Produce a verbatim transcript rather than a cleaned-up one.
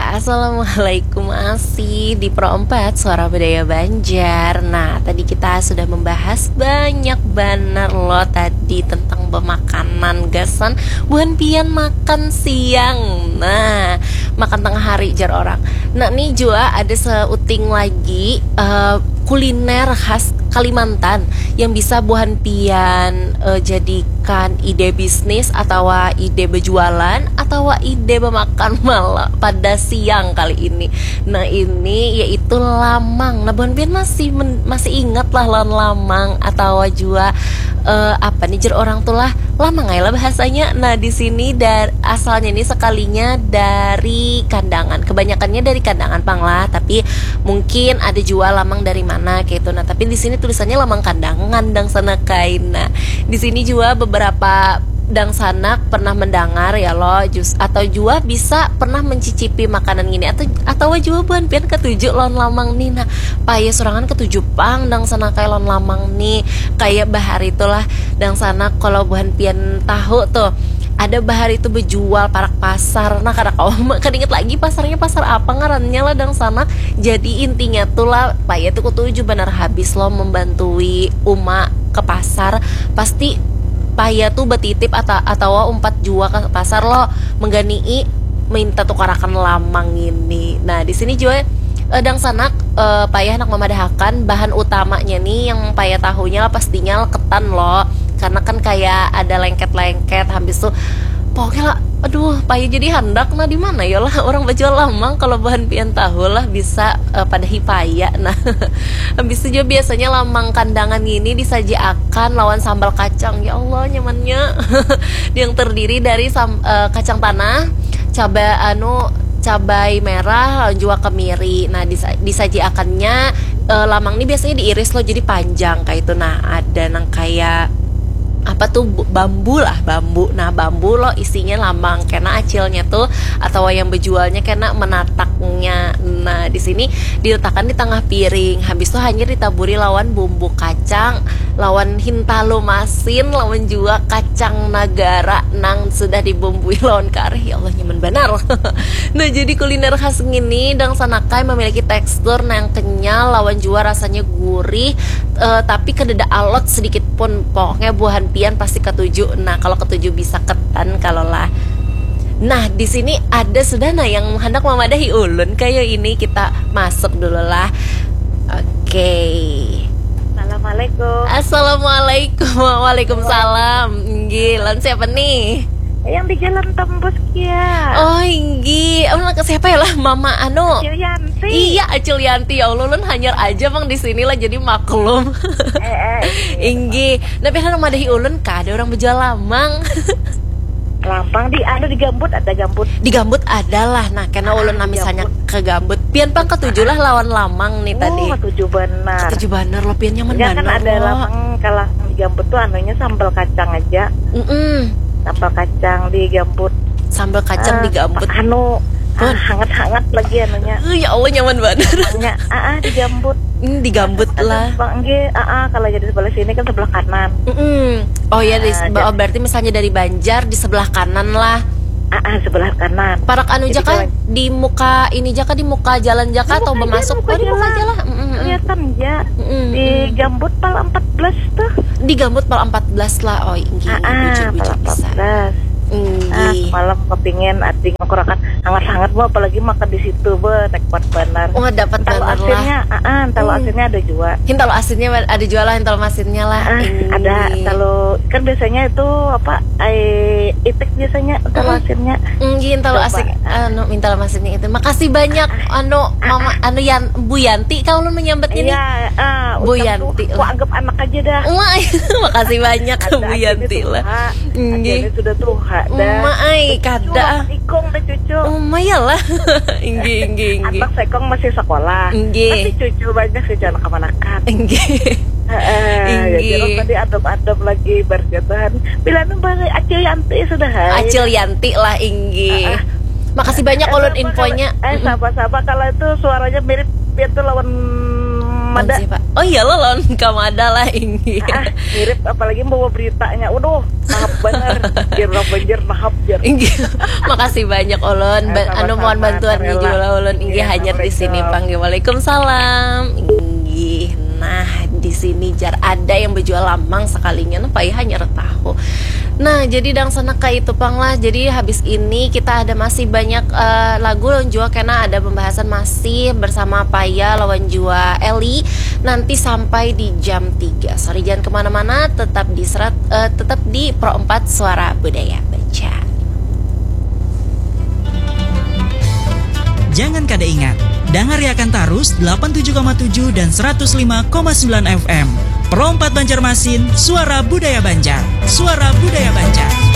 Assalamualaikum, masih di Pro empat Suara Budaya Banjar. Nah, tadi kita sudah membahas banyak banar lo tadi tentang pemakanan gasan buhan pian makan siang. Nah, makan tengah hari jar orang. Nah, ni jua ada seuting lagi eh, kuliner khas Kalimantan yang bisa buhan pian eh, jadikan ide bisnis atawa ide berjualan atawa ide memakan malam pada siang kali ini. Nah, ini yaitu lamang. Nah, buhan pian masih men- masih ingat lah lawan lamang atawa jua eh, apa nih jer orang tuh lah, lamang aja lah bahasanya. Nah, di sini dari asalnya ini sekalinya dari Kandangan, kebanyakannya dari Kandangan pang lah, tapi mungkin ada jua lamang dari mana kayak itu. Nah, tapi di sini tulisannya lamang Kandangan, dangsanak ai. Nah, di sini jua beberapa dangsanak pernah mendengar ya lo, jus atau jua bisa pernah mencicipi makanan gini atau atau jua buhan pian ketuju lawan lamang nih. Nah, paya surangan ketuju pang dangsanak ai lawan lamang nih. Kayak bahari itulah dangsanak, kalau buhan pian tahu tuh, ada bahari itu bejual parak pasar. Nah, kada kawa kada ingat lagi pasarnya pasar apa ngarannya lah dangsanak. Jadi intinya tuh lah, paya tuh ketuju banar habis lo membantui uma ke pasar. Pasti paya tuh betitip atau atawa umpat jua ke pasar lo, mengganai minta tukarakan lamang ini. Nah, di sini jua eh, dangsanak eh, paya handak memadahakan bahan utamanya nih, yang paya tahunya lah pastinya lah ketan lo, karena kan kayak ada lengket-lengket habis tuh pokoknya lah. Aduh, paya jadi handak. Nah, di mana ya lah orang bajual lamang? Kalau bahan pian tahu lah bisa eh, padahi paya. Nah, habis itu juga biasanya lamang Kandangan ini disajiakan lawan sambal kacang. Ya Allah, nyamannya. Yang terdiri dari sam- eh, kacang tanah, cabai anu cabai merah, lawan juga kemiri. Nah, disa- disajiakannya eh, lamang ini biasanya diiris lo jadi panjang kayak itu. Nah, ada nang kayak apa tuh, bu- bambu lah, bambu. Nah, bambu lo isinya lamang, karena acilnya tuh atau yang berjualnya kena menataknya. Nah, di sini diletakkan di tengah piring, habis tuh hanyar ditaburi lawan bumbu kacang, lawan hintalu masin, lawan juga kacang nagara nang sudah dibumbui lawan kareh. Ya Allah, nyaman banar. Nah, jadi kuliner khas ngini dangsanak ai memiliki tekstur nang kenyal lawan jua rasanya gurih, eh, tapi kadada alot sedikit pun. Pokoknya buhan pian pasti ketuju. Nah, kalau ketuju bisa ketan kalau lah. Nah, di sini ada sudah nah yang hendak memadahi ulun kayak ini. Kita masuk dulu lah. Oke. Assalamualaikum. Assalamualaikum. Waalaikumsalam. Nggih, lan siapa nih? Yang di jalan tembus kia. Oh, inggih. Oh, siapa ya lah, Mama anu? Yanti. Iya, Acil Yanti. Ya Allah, ulun hanyar aja mang di sini lah, jadi maklum. Eh, eh. Inggih. Nah, pian madahi ulun kada orang berjual lamang. Lamang di anu di gambut ada gambut. Di gambut ada lah. Nah, karena ulun Ah, misalnya gambut. Ke gambut. Pian pang ketuju lah lawan lamang nih tadi. Oh, ketuju benar. Ketuju banar lo, pian nyaman Enggak kan banar ada lo. Lamang kalau di gambut tuh anunya sambal kacang aja. Mm-mm. Sambal kacang di gambut. Sambal kacang Ah, di gambut. Anu, Pun. ah, hangat-hangat lagi anunya. Eh, ya Allah, nyaman banar. Nya, ah, ah, di gambut. Hmm, di gambut Ada lah. Bang, nggih, ah, ah, kalau jadi sebelah sini kan sebelah kanan. Mm-mm. Oh ya, di, Ah, ba- jadi- berarti misalnya dari Banjar di sebelah kanan lah. Ah, ah, sebelah kanan. Parak anu Jadi jaka kalau- di muka ini jaka di muka jalan jaka Di atau muka bermasuk aja, muka oh, di muka jalan. Aja lah. Mm-mm, mm-mm. Kelihatan ya. Mm-mm, Di mm-mm. gambut pal empat belas tuh. Di gambut pal empat belas lah. Oh, inggih, Ah, ah, bujur, pal bujur empat pisan. belas. Ah, Inggih. Malam kepingin ading kurakan hangat-hangat mau apalagi makan di situ be, nikmat benar. Wah, dapat Hintalu benar lah. Asinnya, ah, ah, hintalu Hmm. Asinnya ada juga. Hintalu asinnya ada jual lah, hintalu masinnya lah. Ah, Inggih. Ada hintalu kan biasanya itu apa ai itik biasanya hintalu Mm-mm. asinnya. Inggih, hintalu Coba. Asin anu minta masinnya itu. Makasih banyak anu Mama anu Yan Bu Yanti kalau menyambatnya nih. Iya, ah, Bu ucap Yanti tuh, lah. Wah, anggap anak aja dah. Wah, makasih banyak Ada Bu aja Yanti nih lah. tuha. Inggih. Ada nih sudah tuha dah. Uma ai Cucu, kada. Ikung deh cucu. Uma ya lah. Inggih, inggih, inggih. Anak sekong masih sekolah. Inggih. Tapi cucu banyak sih anak kemanakan. Inggih. Heeh, Inggih. jadi orang tadi adem-adem lagi berjatuhan. Bila nu bari Acil Yanti sudah hai. Acil Yanti lah inggih. Ah, ah. Makasih banyak Eh, ulun sama infonya. Kalau, eh Mm-mm. sama-sama kalau itu suaranya mirip dia tuh lawan Mada. Lawan siapa? Oh iya lo lawan Kamada lah, inggih. Ah, mirip, apalagi bawa beritanya. Waduh, nahap banar. Jar urang Banjar, nahap, jar. Inggih. Makasih banyak, ulun. Ba-, eh, anu, mohon bantuan jua lah, ulun. Inggih, hanyar di sini, panggih. Waalaikumsalam. Inggih. Nah, di sini jar ada yang bejual lamang sekalinya, napa ya, hanyar tahu. Nah, jadi dangsanak kaitu pang lah. Jadi habis ini kita ada masih banyak, eh, lagu lawan jua kena ada pembahasan masih bersama Paya lawan jua Eli nanti sampai di jam tiga. Sorry, jangan kemana-mana, tetap di serat-, eh, tetap di Pro empat Suara Budaya Banjar. Jangan kada ingat, dangariakan tarus delapan tujuh koma tujuh dan seratus lima koma sembilan F M. Pro empat Banjarmasin, suara budaya Banjar. Suara budaya Banjar.